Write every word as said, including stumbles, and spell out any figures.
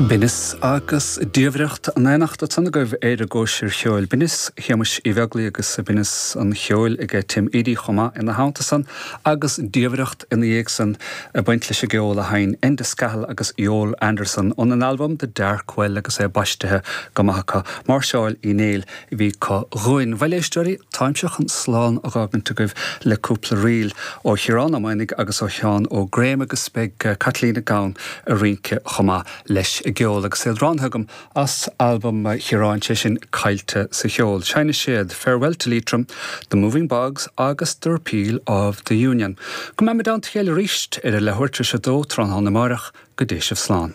Binneas agus diamhaireacht in éineacht ansan agaibh ar an gcóisir cheoil. Binneas Shéamuis Uí Bheaglaoich agus binneas an cheoil ag Tim Edey chomh maith ina theannta san agus diamhaireacht ina dhiaidh san ag baint leis an gceol a sheinn Enda Scahill agus Iol Anderson óna n-albam The Dark Well agus é baistithe go maith acu. Máirseáil Uí Néill a bhí acu dhúinn. Bhuel a éisteoirí, táimse chun slán a dh'fhágaint agaibh le cúpla ríl ó Chiarán Ó Maonaigh agus ó Sheán Ó Graham agus beidh Caitlín Nic Gabhann ag rince chomh maith leis an gceol agus iad roghnaithe agam as albam Chiaráin sé sin Caillte sa Cheol. Seinnfidh siad Farewell to Leitrim, The Moving Bogs agus The Repeal of the Union. Go mbeimid i dteannta a chéile arís ar a leathuair tar éis a dó tráthnóna amárach go dté sibh slán.